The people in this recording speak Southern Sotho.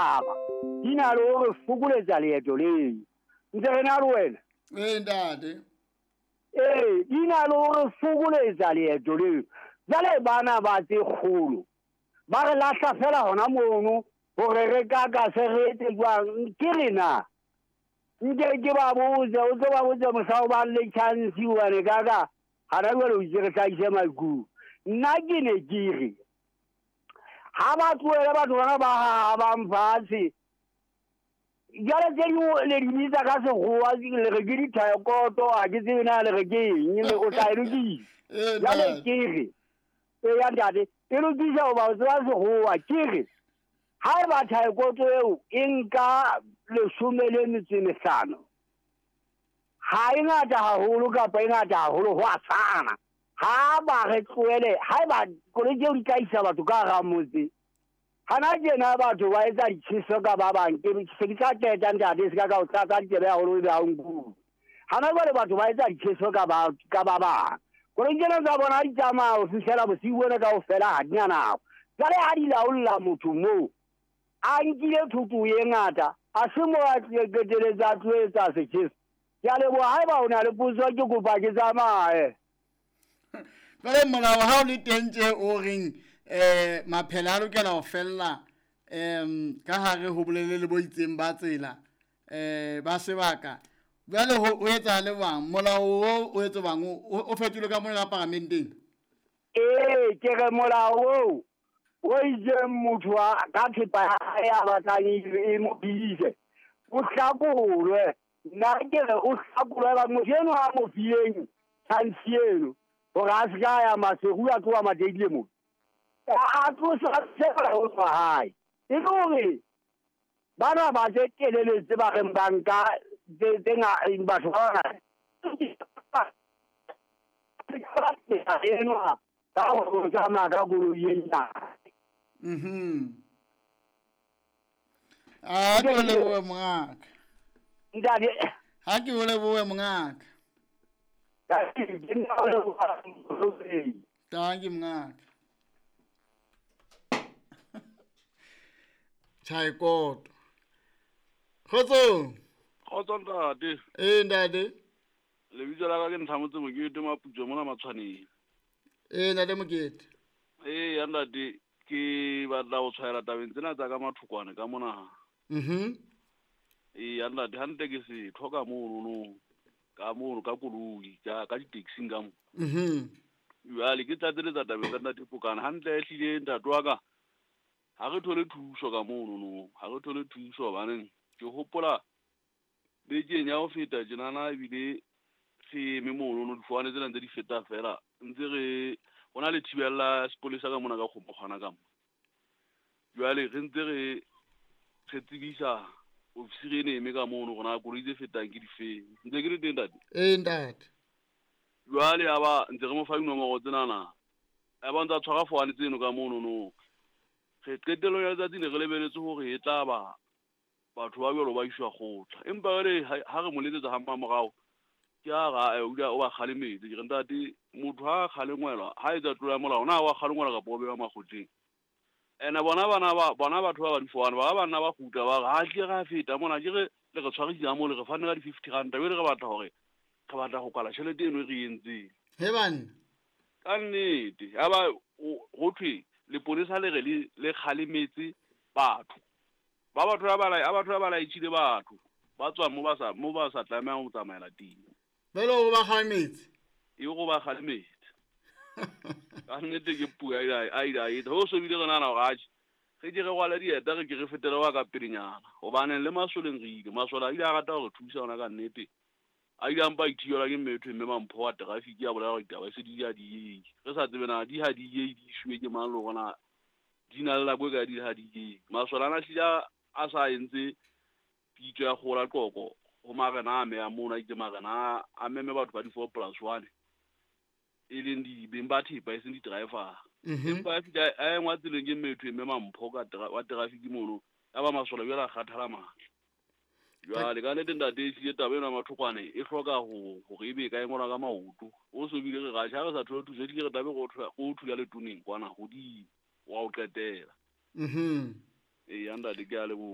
setjhaba di na le hore fokoletsa leeto leo. Ntse re na le wena? Ee, ntate. Ee, di na le hore fokoletsa leeto leo. Jwale bana ba tse kgolo ba re lahla fela hona mono hore re ka ka se re etse jwang. Ke re na nke ke ba botse, o tlo ba botse mohla o bang le chance hobane ka ka hana jwale o itse re hlahise maikutlo. Nna ke ne ke re ha ba tlohele batho bana ba hahabang fatshe. Jwale tse dingwe le di bitsa ka sekgowa, le re ke dithaekoto, ha ke tsebe na le re ke eng, le o tla e lokisa. Jwale ke re eya ntate, e lokisa hoba o tseba sekgowa. Ke re ha eba thaekoto eo e nka 15, ha e ngata haholo kapa e ngata haholo, ho a tshwana. Ha ba re tlohele, ha eba koloi tseo di tla isa batho ka hara motse. Hana tjena batho ba etsa ditjheso ka ba bang. Ke se ke tla qeta ntate, se ka ka o tlatsa ditsebe haholo ebe ha o nkutlwe. Hana jwale batho ba etsa ditjheso ka ba ka ba bang. Koloi tsena tsa bona ha di tsamaya ho fihlela bosiu bona kaofela ha di na nako. Jwale ha di laolla motho moo, a nkile thoto e ngata, a se mo a qeteletse a tlo etsa setjheso. Ke a leboha, haeba o na le potso ke kopa ke tsamaye. Jwale molao ha o le teng tje o reng maphele a lokela ho fella ka hare ho bolelele bo itseng ba tsela ba sebaka. Jwale ho etsahale jwang? Molao o o etse jwang? O fetolwe ka mona ka paramenteng? Ee, ke re molao oo o itseng motho ka thepa ya hae a batlang e mo phedise, o hlakolwe. Nna ke re o hlakolwe ba motho eno a mo fileng chance eno hore a se ka ya Maseru a tloha Mateile mo. A tlosa tsela ho tswa hae. E le hore bana ba tse telele tse ba reng ba nka tse batho ba bangata. Enwa ka ho tsamaya ka koloi e nyane. A ke o lebohe mongaka. Ntate. Ha ke o lebohe mongaka. Thank you mongaka. Tjhaikoto. Kgotsong. Kgotso ntate. Ee ntate. Lebitso la ka ke Ntlhamotse Mokete Maputso mona Matshwaneng. Ee ntate Mokete. Ee ya ntate, ke batla ho tshwaela tabeng tsena tsa ka mathokwane ka mona. Ee ya ntate, hantle ke setho ka mono no. Ka mono ka koloi, ka di-taxing ka mo. Jwale ke tlatseletsa tabeng tsa ntate Pokane. Hantle ehlile ntate wa ka, ha re thole thuso ka mono no. Ha re thole thuso hobaneng ke hopola bekeng ya ho feta tjenana ebile re eme mono no, difowane tsena ntse di feta fela. Ntse re ho na le thibella sepolesa ka mona ka kgomokgwana ka mo. Jwale re ntse re tsebisa ofisiri ene eme ka mono hore na koloi tse fetang ke difeng. Ntse ke le teng ntate? Ee ntate. Jwale ya ba ntse re mo fa dinomoro tsenana. Ya ba ntse a tshwara fowane tseno ka mono no. Re qetellong ya letsatsi ne re lebeletse hore e tla ba batho ba jwalo ba iswa kgotla. Empa jwale ha re mo letsetsa ha mmamorao, ke a ra o ile o ba kgalemetse. Ke re ntate, motho ha a kgalengwelwa, ha etsa tlolo ya molao, na wa kgalengwelwa kapa o bewa makgotleng? Ene bona bana ba, bona batho ba ba difowane, ba banna ba kgutla ba re, ha tle ra feta mona, ke re le re tshwarisitse mo, le re fanne ka di-50 ranta, jwale re batla hore re batla ho kwala tjhelete eno e re entseng. He banna. Ka nnete, ya ba ho thwe leponesa le re le kgalemetse batho. Ba batho ba ba batho ba laetjhile batho ba tswang mo ba sa tlamehang ho tsamaela teng. Jwale o ba kgalemetse? E go ba kgalemetse. Ka nnete ke puo a ile a etsa. Ho so bile re nahana hore atjhe, re ke re rwale dieta, re ke re fetele wa ka pelenyana. Hobaneng le masoleng re ile. Masole a ile a rata hore thusa ona ka nnete. A ile a mpa ithibelwa ke mme ethwe mme Mampho wa traffic ya bolela hore ditaba se di a di. Re sa tsebe na di ha di ye di ishuwe ke mang le hore na di na le nako e kae di ha di ye. Masole ana hlile a sa entse pitso ya kgola qoko ho marena a meya mono, a itse marena a meme batho ba di-4+1 e leng di beng ba thepa e seng di-driver. Empa a fihla a engwa tseleng ke mme ethwe mme Mampho ka wa traffic mono, ya ba masole jwale a kgathala matla. Jwale ka nnete ntate e hlile taba ena ya mathokwane e hloka hore ebe e ka engwelwa ka maoto. O so bile re ratjha, ha re sa thole thuso, ehlile re tlabe re o thula letoneng kwana hodimo wa ho qetela. Ee, ntate ke a leboha.